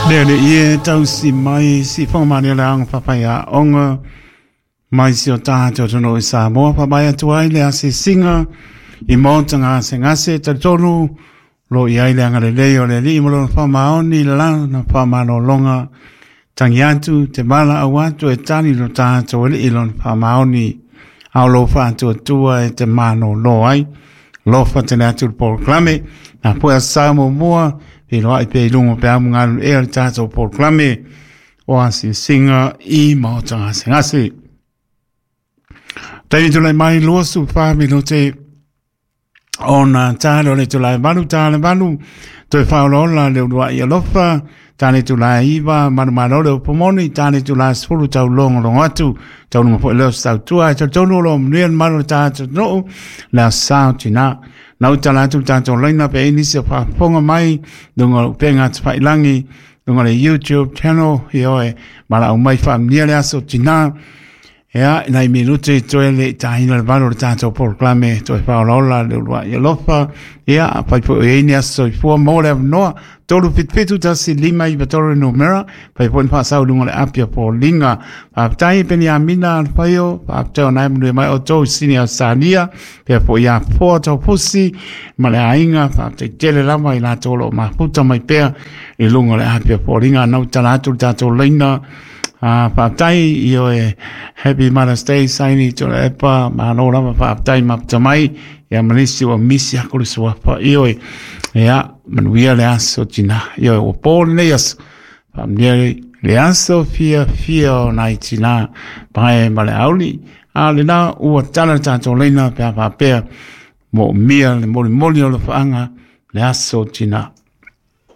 Le le ie tausi mai si whangamani le anga papai a onga mai si o tātou tonu i Samoa papai atu ai le asisinga i maota ngase ngase talitonu lo i ai le anga lelei o le alii ma lona faamaoni i le lana famalologa tangi atu te mala au atu e tali lo tātou alii lona faamaoni a o lou faatuatua e te malōlō ai. Lofa tele atu le polokalame. Na pue sa muamua, feiloai pea i luga o peau ma galulue le tatou polokalame o asiasiga i maota gasegase. Taimi tulai mai 24 minute ona tale o le itula e 8, tale 8, toe faaolaola le uluai alofa, tale itula e 9, manumalo le upu moni, tale itula e 10, taulogologo atu, taunuga foi lea o se tautua, e talitonu o lo o manuia le malu o le tatou atunuu, le aso sa o tina. Na ua tala atu le tatou laina pe ai nisi o faafofoga mai, luga o upega tafailagi, luga o le YouTube channel, ioe, valaau mai faamanuia le aso tina. Ia, nai minute i toe le i taina le 8 o le tatou polokalame toe faaolaola le uluai alofa. Ia, afai foi o i ai ni aso soifua mo le avanoa, 377 1593 le numera, fai foi ni faasau i luga o le api a Foliga. Faafetai Peniamina Alfaio, faafetai o na e manuia mai outou i Sini Ausetalia, pea foi ia Foa Taufusi ma le aiga, faafetai tele lava i latou o lo o mafuta mai pea i luga o le api a Foliga. Nau tala atu le tatou laina. Faafetai ioe, Happy Mother's Day Saini Tuilaepa, malo lava faafetai mafuta mai ia ma nisi ua misi aku le suafa ioe. Ia manuia le aso tina ioe, ua po lenei aso, faamanuia le aso fiafia o nai tina pae ma le auli. A lena ua tala le tatou laina pe a faapea moomia le molimoli o le faaga le aso tina.